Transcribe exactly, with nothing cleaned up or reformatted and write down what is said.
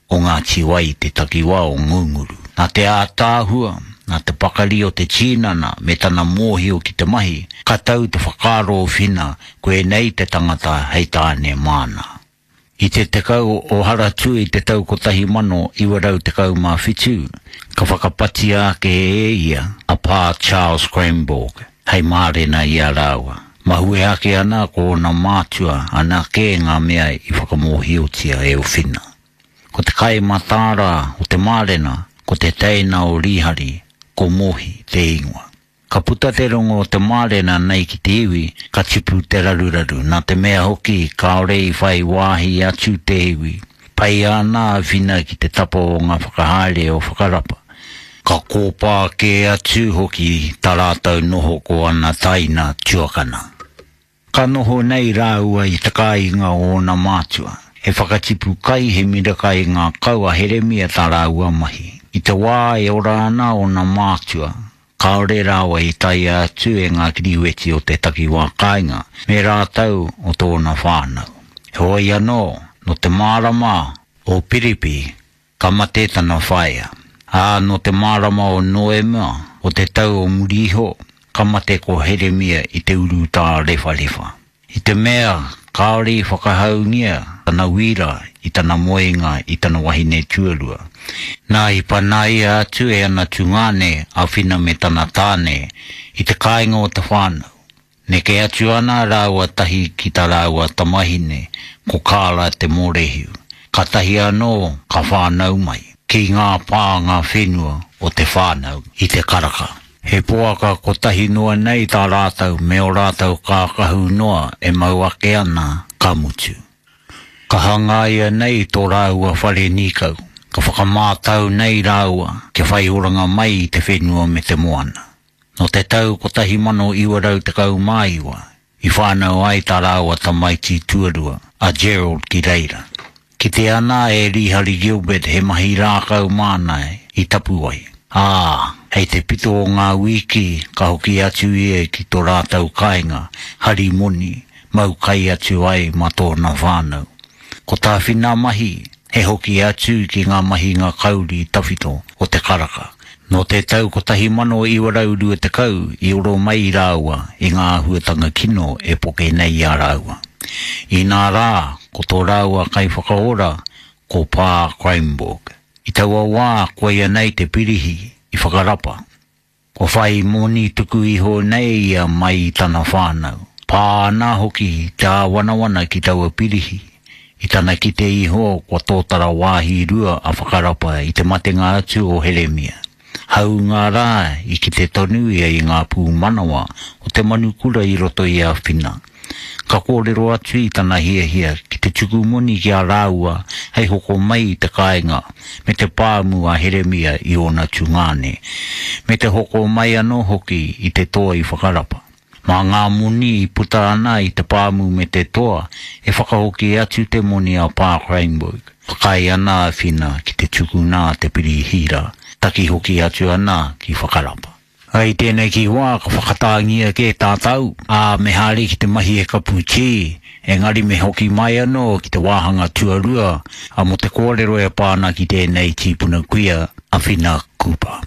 o Ngāti Wai i te takiwā o Ngunguru. Nā te ātaahua, nā te pakari o te tinana me tana mōhio ki te mahi, ka tau te whakaaro o Whina koinei te tangata hei tāne māna. I te tekau o Haratua i te tau kotahi mano iwa rau tekau mā whitu, ka whakapatia ake e ia a Pā Charles Kreymborg hei mārena i a rāua. Mahue ake ana ko ōna mātua anake ngā mea i whakamōhiotia e Whina. Ko te kai mataara o te mārena, ko te teina o Rīhari, ko Mohi te ingoa. Ka puta te rongo o te mārena nei ki te iwi, ka tipu te raruraru, nā te mea hoki kāore i whai wāhi atu te iwi. Pai ana a Whina ki te tapa o ngā whakahaere o Whakarapa. Ka kōpā kē atu hoki tā rātou noho ko ana taina tuakana. Ka noho nei rāua i te kāinga o ōna mātua. He whakatipu kai, he miraka i ngā kau a Heremia tā rāua mahi. I te wā e ora ana ōna mātua, kāore rāua i taea atu e ngā kiriweti o te takiwā kāinga, me rātou o tōna whānau. Heoi anō, nō te marama o Piripi, ka mate tana whaea. Ā, nō te marama o Noema, o te tau o muri iho, ka mate ko Heremia i te urutā rewharewha. I te mea, kāore i whakahaungia tana wira i tana moenga i tana wahine tuarua. Nā i panaia atu e ana tungāne a Whina me tana tāne i te kāinga o te whānau. Neke atu ana rāua tahi ki tā rāua tamahine, ko Kāra te Mōrehu. Kātahi anō ka whānau mai, ki ngā pānga whenua o te whānau i te Karaka. He poaka kotahi noa nei tā rātou me ō rātou kākahu noa e mau ake ana ka mutu. Ka hangaia nei tō rāua whare nīkau, ka whakamātau nei rāua kia whai oranga mai i te whenua me te moana. Nō te tau kotahi mano iwa rau tekau mā iwa, i whānau ai tā rāua tamaiti tuarua, a Gerald ki reira. Kite ana e Rīhari Gilbert he mahi rākau māna i Tapuwae. Ā, hei te pito o ngā wiki ka hoki atu ia ki tō rātou kāinga, hari moni, mau kai atu ai mā tōna whānau. Ko tā Whina mahi, he hoki atu ki ngā mahinga kauri tawhito o te Karaka. Nō te tau kotahi mano iwa rau rua tekau i oro mai rāua i ngā āhuatanga kino e poke nei i a rāua. Inā rā, ko tō rāua kaiwhakaora, ko Pā Kreymborg. I taua wā, koia nei te pirihi i Whakarapa. Kua whai moni tuku iho nei ia mai i tana whānau. Pā ana hoki te āwanawana ki taua pirihi. I tana kite iho kua tōtara wāhi rua a Whakarapa i te matenga atu o Heremia. Hāunga rā i kite tonu ia i ngā pūmanawa o te manukura i roto i a Whina. Ka kōrero atu i tana hiahia ki te tuku moni ki a rāua hei hoko mai i te kāinga me te pāmu a Heremia i ōna tungāne, me te hoko mai anō hoki i te toa i Whakarapa. Mā ngā moni i puta ana i te pāmu me te toa e whakahoki atu te moni a Pā Kreymborg. Whakaae ana a Whina ki te tukuna a te pirihi rā, taki hoki atu ana ki Whakarapa. I tēnei ki wā ka whakatāngia kē tātou, ā, me haere ki te mahi e kapu tī, engari me hoki mai anō ki te wāhanga tuarua, ā, mō te kōrero e pā ana ki tēnei tīpuna kuia a Whina Cooper.